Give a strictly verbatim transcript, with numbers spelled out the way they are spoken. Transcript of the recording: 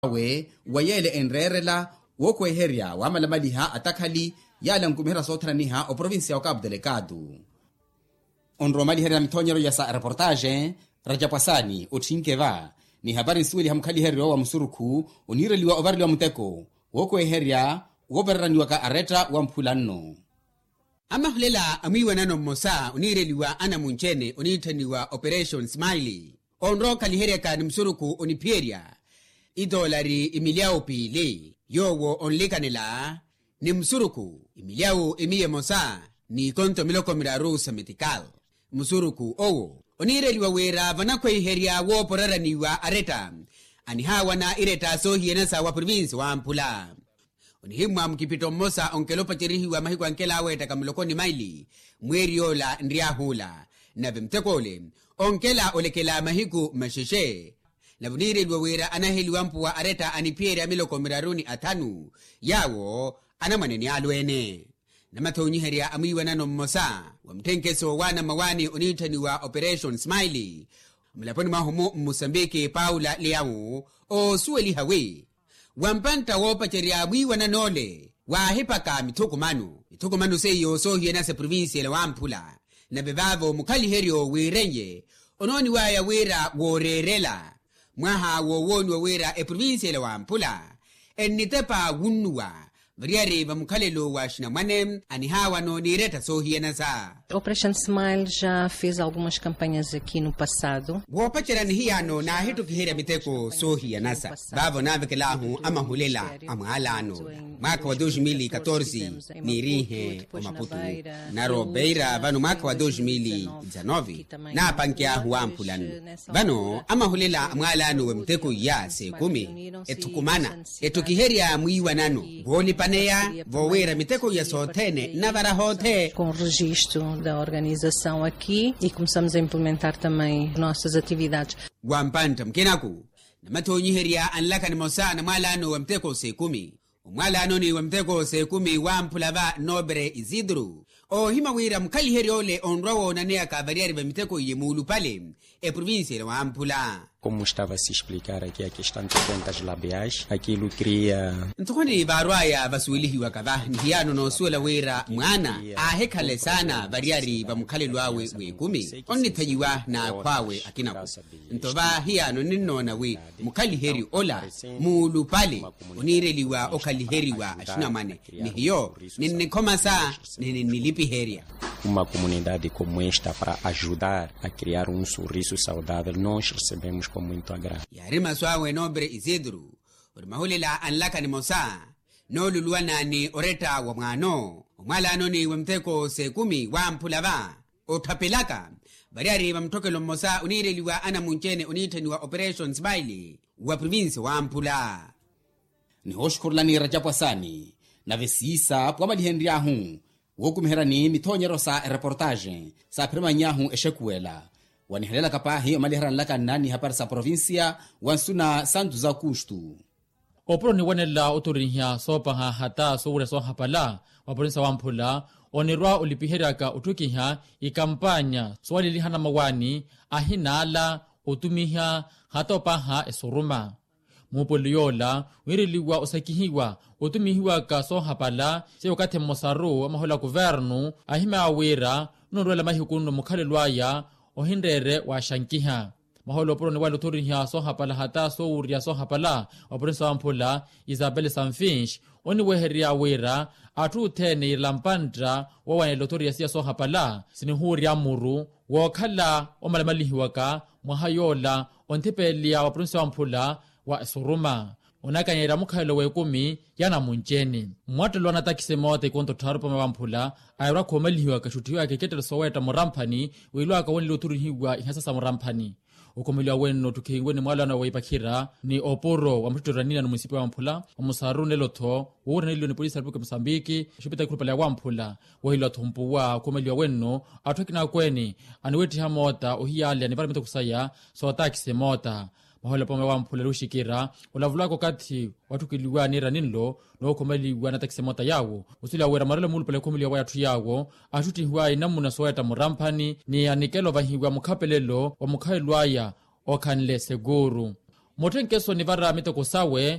awe wa yeele enreerela wookweherya wamalamaliha atakhali yaale ankumiherya soothananiha oprovincia wa capu delecado. Onrowa omaliherya mithoonyeryo ya sa reportaxe, rajapwasani otthinke va ni hapari nsuweliha mukhaliheryo wa musurukhu oniireliwa ovareliwa muteko wookweherya woovereraniwaka aretta wa mphula nno. Amahulela a mwiiwanano mmosa oniireliwa anamunci-ene oniitthaniwa operation smile onrowa okhaliheryaka ni musurukhu oniphiyerya itoolari imilyawu piili yoowo onlikanela ni musurukhu imilyawu imiya emosa n'ikonto miloko miraru sa metikal. Musurukhu owo oniireliwa wira vanakhweiherya wooporeraniwa aretta anihaawana iretta soohiyanasa wa provinsi wamphula. Onihimmwa mukipitto mmosa onkela opacerihiwa mahiku ankela aweettaka muloko ni maili mweeri yoola nryahuula nave mutek'ole onkela olekela mahiku maxexe. Nave oniireliwa wira anaheliwa mpuwa aretta aniphiyerya miloko miraru ni athanu yaawo anamwane ni alweene. Namathoonyiherya a mwiiwanano mmosa wa mutthenkeso wa anamawaani oniitthaniwa operation smile mulaponi mwahu-mu mmusambiki paula leawu oosuweliha wi wampantta woopacerya mwiiwanan'ole waahipaka mithukumano mithukumano seiyo soohiyanasa eprovincia ela wamphula. Nave vaavo mukhaliheryo wiiren'ye onooniwaya wira wooreerela mwaha wowooniwa wira eprovincia ela wamphula ennitepa wunnuwa variyari va mukhalelo wa axinamwane anihaawa nooniiretta soohiyanasa. Operation smile já fez algumas campanhas aqui no passado. Woopacerya ni hiyaano naahittukiherya miteko soohiyanasa vaavo naavekelaahu amahulela a mwaalaano mwaakha wa dos mil e catorze niiriihe omaputu naro beira vano mwaakha wa dos mil e dezanove naapankeyaahu wamphulano. Vano amahulela a mwaalaano wa miteko iya s'ekumi ethukumana ettukiherya mwiiwanano voolipaneya voowira miteko iya sothene nnavara hoothe. Com registo da organização aqui e começamos a implementar também nossas atividades. Wampantta mukinaku namathoonyiherya anlaka nimosa na mwaalaano wa miteko s'ekumi omwaalaanoni wa miteko s'ekumi wamphula va nobre isidro oohimya wira mukhaliheryo ole onrwa woonaneyaka variyari va miteko iye muulupale eprovincia ela wamphula. Como estava a se explicar aqui a questão de contas labiais aquilo cria. Nthokoni vaarwaya vasuwelihiwaka va ni hiyaano noosuwela wira mwaana aahikhala esaana variyari va mukhalelo awe w'ekumi onnithanyiwa n'akhw'awe akinaku. Nto va hiyaano ninnoona wi mukhaliheryo ola muulupale oniireliwa okhaliheriwa axinamwane ni hiyo ninnikhomasa ni ninnilipiherya. Uma comunidade como esta para ajudar a criar um sorriso saudável nós recebemos com muito agrado. Yaari masu awe nobre isidro ori mahulela anlaka nimosa nooluluwana ni oretta wa mwaano omwaalaanoni wa miteko s'ekumi wamphula va otthapelaka variyari va mutthokelo mmosa oniireliwa anamunci-ene oniitthaniwa operation smile wa provincia wamphula. Nihooxukhurulani rajapwasani nave siisa pwamalihenry'ahu wookumiheryani mithoonyeryo sa ereportaxe saaphiramany'ahu exekuwela wanihelelaka paahi omaliherya nlaka nnaani hapari sa provincia wa nsuna santu z'akustu. Opuro niwanela oturinhya soopaha hata soowurya soohapala wa provincia wamphula onirwa olipiheryaka otthukiha ikampanya soowaleliha anamawaani ahinaala otumiha hata opaha esuruma. Muupoli yoola wiireliwa osakihiwa otumihiwaka soohapala seiyo okathi mmosaru amahola kuvernu ahimy'awe wira nonrwela mahiku nno mukhalelo aya ohinreere waaxankiha. Mahola opuro niwala othoriha soohapala hata soowurya soohapala wa provincia wamphula isabel sanfinx oniwehererya wira atthu othene iirela mpantta woowanela othoriha siya soohapala sinihuurya muru wookhala omalamalihiwaka mwaha yoola onthipeleya wa provincia wamphula wa esuruma onakanyerya mukhalelo w'ekumi ya namunci-ene. Mwattelo anatakisi moota ikonto tthaaru pome wamphula airwa khoomalihiwaka xutthiwaka ikettelo soowetta muramphani wiilwaka woneliwa othurihiwa ihasa sa muramphani. Okhomeliwa wenno otthukhihiwe ni mwaalano wa ipakhira ni opuro wa muttitto ra nina ni munisipi wamphula wa musaru nelo-tho woowiraneliwa ni polisi ya repupulika ya musambiki exupita ekhurupale ya wamphula. Woheliwa-tho mpuwa okhomeliwa wenno atthu akina akweene aniwetthiha moota ohiyaleya ni vara mitoko saya sootakisi moota. Mahola pome wamphula luxikira olavulaka okathi watthukeliwa niira ninlo nookhomeliwa natakisi moota yaawo osuweliwa wira marelo muulupale okhomeliwa waya atthu yaawo axutthihiwa inamuna soowetta muramphani ni anikela ovahiwa mukhapelelo wa mukhalelo aya okhanle sekuuru. mutthenkeso nivara miteko sawe.